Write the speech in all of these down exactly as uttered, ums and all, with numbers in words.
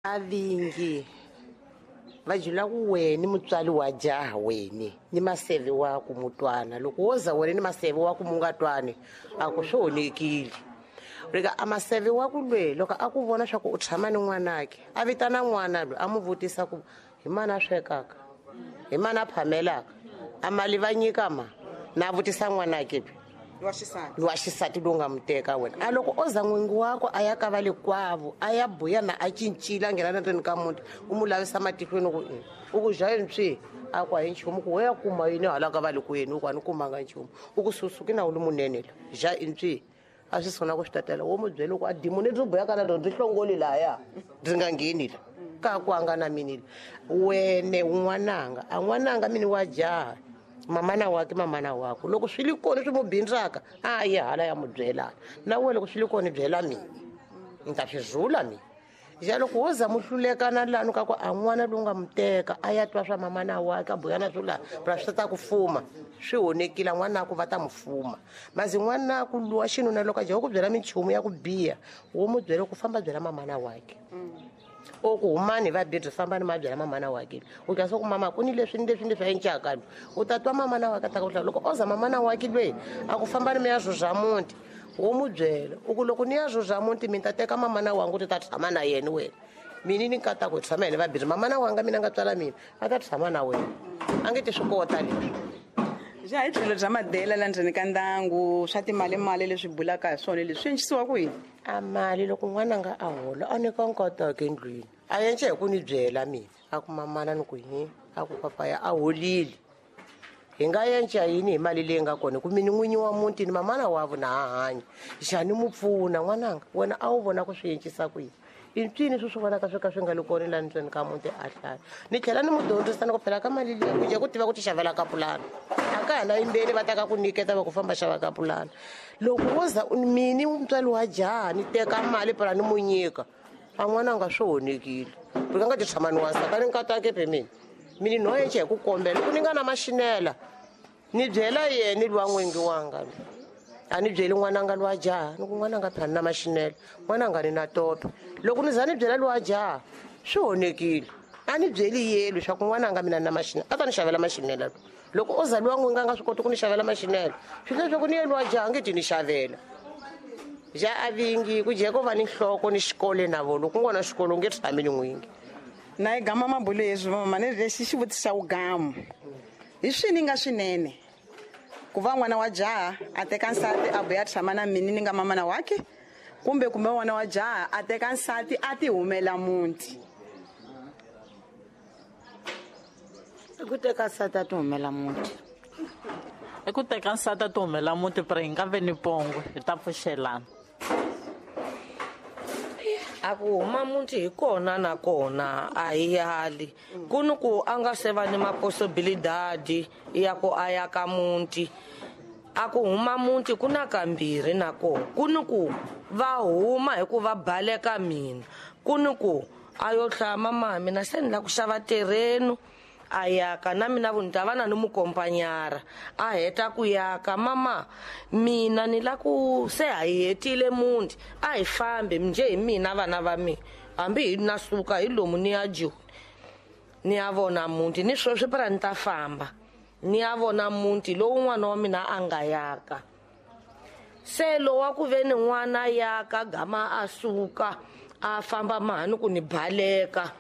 A vingi va jula ku wena mutswari wa jaha wena ni maseve wa ku mutwana loko wo za wena ni maseve wa ku mu nga twani a ku swi onhekile rika a maseve wa ku lwe loko a ku vona swa ku u tshama ni n'wanake a vitana n'wana loyi a mu vutisa ku hi mani a swekaka hi mani a phamelaka a mali va nyika ma na vutisa n'wanake lowa xisati lowu nga mu teka wena a loko o za n'wingi wako a ya ka va le kwavo a ya buya na a cincile a nghena na ndzeni ka muti u mu lavisa matihlweni ku i u ku ja yini swi a ku a hi nchumu ku we ya kuma yini hala ka va le kwenu u ku a ni kumanga nchumu u ku susuki na wu li munene la ja i ntswi a swi sungula ku swi tatela wo mu byela ku a dimoni byi buya ka na rona byi hlongoli lahaya byi nga ngheni la ka ku anga na mini la wene n'wananga a n'wananga mini wa jaha mamana wake mamana wako loko swi li kona swi mu bindzaka a yi hala ya mu byelana na wena loko swi li kona byela mina ni ta swi zula mina ja loko wo za mu hlulekana lani ka ku a n'wana lowu nga mu teka a ya twa swa mamana wake a buyana swo laha pra swi ta ku fuma swi honekile n'wanaku va ta mu fuma mazi n'wanaku luwa xinuna loko a jaha ku byela minchumu ya ku biha wo mu byela ku famba byela mamana wake o ku humani va bidzi fambani ma byela mamana wake u twa swa ku mama ku ni leswi ni leswi ni leswi a encaka lo u ta twa mamana wake a ta ku hlaya loko o za mamana wake lweyi a ku fambani mi ya zuza muti wo mu byela u ku loko ni ya zuza muti mi ta teka mamana wangu ti ta tshama na yena wena mina ni nkata ku tshama yena va bidzi mamana wanga mina nga tswala mina a ta tshama na wena a nge ti swi kota leswi ja hi tlhelo bya madela la ndzeni ka ndyangu swa timalimali leswi bulaka hi swona leswi swi encisiwa ku yini a mali loko n'wananga a hola a nyika nkataka endlwini a yence hi ku ni byela mina a ku mamana ni ku yini a ku papaya a holile hi nga yenca yini hi mali leyi nga kona hi ku mini n'winyi wa muti ni mamana wa vona ha hanya xani mu pfuna n'wananga wena a wu vona ku swi encisa ku yini i ncini swi swi vonaka swi ka swi nga li kona laha ndzeni ka muti a hlaya ni tlhela ni mu dyondzisa ni ku phela ka mali leyi ku dya ku tiva ku ti xavela ka pulana a ka ha na yimbeni va ta ka ku nyiketa va ku famba xava ka pulana loko wo za mini mutswari wa jaha ni teka mali phela ni mu nyika a n'wananga swi honekile ri ka nga ti tshama ni wansati a ni nkatake phe mina mini no yence hi ku kombela ku ni nga na maxinela ni byela yena luwa n'wingi wanga a ni byeli n'wananga luwa jaha ni ku n'wananga phela ni na maxinela n'wananga ni na tope loko ni za ni byela luwa jaha swi honekile a ni byeli yelo swa ku n'wananga mina ni na maxinela a ta ni xavela maxinela loko o za luwa n'wingi a nga swi koti ku ni xavela maxinela swi leswaku ni ye luwa jaha nge ti ni xavela ja a vingi ku jeko va ni nhloko ni xikolo na vona loko ku nga na xikolo u nge tshami ni n'wingi na yi gama mabulo yeswi mama ni lexi xivutiso xa wugamu hi swini nga swinene ku va n'wana wa jaha a teka nsati a buya tshama na mini ni nga mamana wake kumbe kumbe n'wana wa jaha a teka nsati a ti humela muti i ku teka nsati a ti humela muti i ku teka nsati a ti humela muti pero hi nga ve ni pongo hi ta pfuxelana a ku huma muti hi kona na kona a hi yali ku ni ku a nga se va ni mapossibilidadi ya ku a ya ka muti a ku huma muti ku na kambirhi na kona ku ni ku va huma hi ku va baleka mina ku ni ku a yo hlaya mama mina se ni la ku xava terreno a yaka na mina vu ni ta va na ni mukompanyara a heta ku yaka mama mina ni la ku se ha hi hetile muti a hi fambi njhe hi mina vana va mina hambi hi na suka hi lomu ni ya Joni ni ya vona muti ni sweswi phela ni ta famba ni ya vona muti lowu n'wana wa mina a nga yaka se lowa ku ve ni n'wana yaka gama a suka a famba mahani ku ni baleka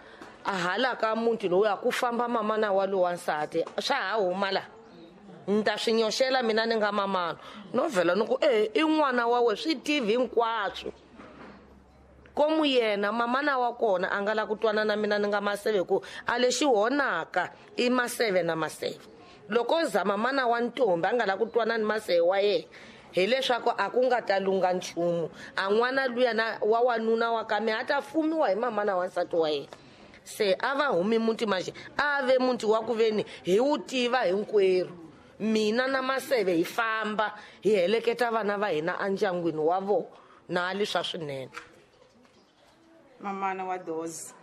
a hala ka muti lowu ya ku famba mamana wa lowa nsati swa ha huma la ni ta swi nyoxela mina ni nga mamana no vhela ni ku e i n'wana wa we swi tivi hinkwaswo komu yena mamana wa kona a nga la ku twana na mina ni nga maseve ku a lexi honaka i maseve na maseve loko za mamana wa ntombi a nga la ku twana ni maseve wa yena hileswaku a ku nga ta lunga nchumu a n'wana luya na wa wanuna wa ka mina a ta fumiwa hi mamana wa nsati wa yena se a va humi muti manje a ve muti wa ku veni hi wu tiva hinkwerhu mina na maseve hi famba hi heleketa vana va hina endyangwini wa vona na leswa swinene mamana wa dozi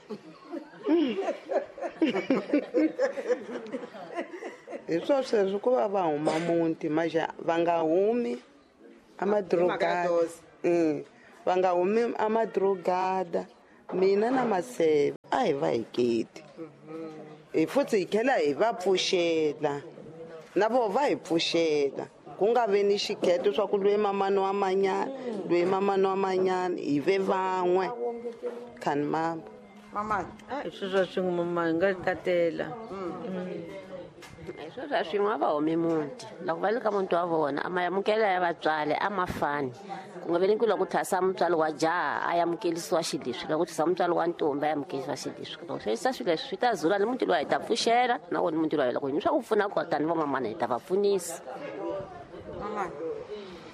hi swo sweswo ku va va huma muti manje va nga humi amadrogada va nga humi amadrogada Mina na Maseve a hi va hiketi. Hi futhi hi tlhela hi va pfuxela. Na vo va hi pfuxela. Ku nga ve ni xikheto swa ku lwe mamani wa manyana, lwe mamani wa manyana, hi ve van'we. Khani mama. Mama, a hi sweswo swin'we mama hi nga tatela. Hi sweswo swin'we a va humi muti. Loko va le ka muti wa vona a ma amukela ya vatswari a ma fani. Ku nga ve ni ku loko ku thwasa mutswari wa jaha a amukelisiwa xileswi, loko ku thwasa mutswari wa ntombi a amukelisiwa xileswi. Loko swi yisa swilo leswi swi ta zula ni muti lowu hi ta pfuxela na wona muti lowu loko hi swa ku pfuna kona tani vamamana hi ta va pfunisa. Mama,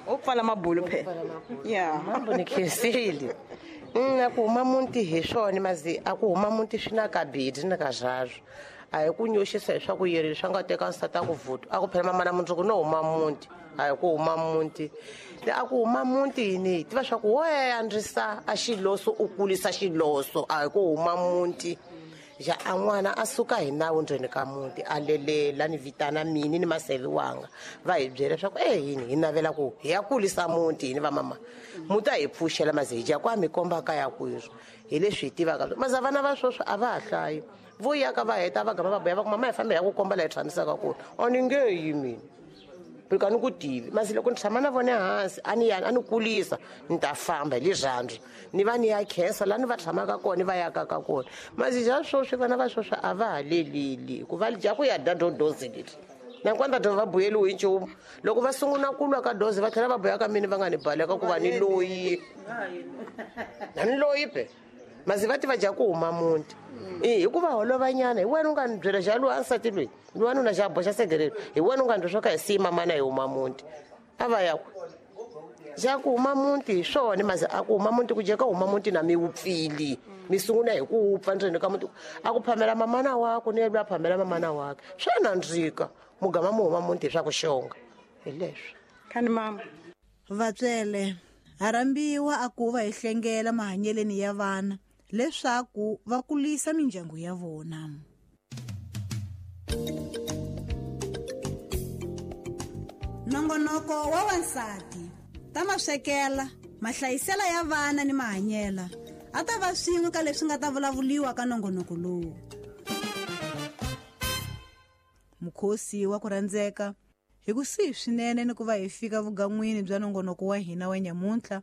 u pfala mabulu phela. Yeah, mambo ni khensile. Mm, a ku huma muti hi swona mazi a ku huma muti swi na kabidi na ka zwazwo. A hi ku nyoxisa hi swa ku yeri swa nga teka nsati a ku vuta. A ku phela mamana mundzuku no huma muti. A hi ku huma muti. A ku huma muti yini? Tiva swa ku wo andzisa a xiloso u kulisa xiloso. A hi ku huma muti. Ja a n'wana a suka hi nawu ndzeni ka muti a lelela ni vitana mini ni Maseve wanga va hi byela leswaku e yini hi navela ku hi ya kulisa muti hini va mama muti a hi pfuxela maze hi dya ku a mi komba kaya kweswo hi leswi hi tivaka maze vana va sweswo a va ha hlayi vo yaka va heta va gama va boya va ku mama hi fambe hi ya ku komba laha hi tshamisaka kona a ni nge yi mina ka ni ku tivi masi loko ni tshama na vona hansi a ni yani a ni kulisa ni ta famba hi rirhandzu ni va ni ya khensa laha ni va tshamaka kona ni va yakaka kona masi ja sweswi vana va sweswi a va ha leleli hikuva dya ku ya dya dodozi leti nakona va va buyeliwi hi nchumu loko va sungula ku lwa ka dozi va tlhela va boya ka mina va nga ni baleka ku va ni loyi na ni loyi pe masi va tiva dya ku huma muti hikuva holovanyana hi wena u nga ni byela xa loyi a nsati loyi loyi nuna xa boxa segerelo hi wena u nga ni swo ka hi siyi mamana hi huma muti a va ya ku xa ku huma muti hi swona masi a ku huma muti ku jeka huma muti na mi wupfili mi sungula hi ku wupfa ndzeni ka muti a ku phamela mamana wako ni yelwa phamela mamana wakhe swa nandzika mugama mu huma muti hi swa ku xonga hi leswi. Khani mama. Vatswele ha rhambiwa a ku va hi hlengela mahanyeleni ya vana leswaku va kulisa mindyangu ya vona. Nongonoko wa wansati ta maswekela mahlayisela ya vana ni mahanyela a ta va swin'we ka leswi nga ta vulavuliwa ka nongonoko lowu. Mukhosi wa ku rhandzeka hi kusuhi swinene ni ku va hi fika vugan'wini bya nongonoko wa hina wa nyamuntlha.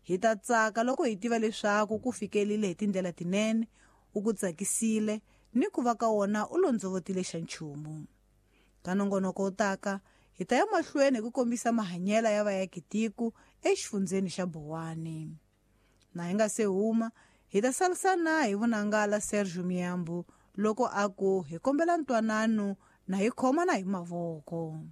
Hi ta tsaka loko hi tiva leswaku ku fikelile hi tindlela tinene, u ku tsakisile ni ku va ka wona u londzovotile xa nchumu. Ka nongonoko wu taka hi ta ya mahlweni hi ku kombisa mahanyela ya vaakitiko exifundzeni xa Bowani. Na hi nga se huma hi ta salisana hi vunangala Sergio Miyambo loko a ku hi kombela ntwanano na hi khomana hi mavoko.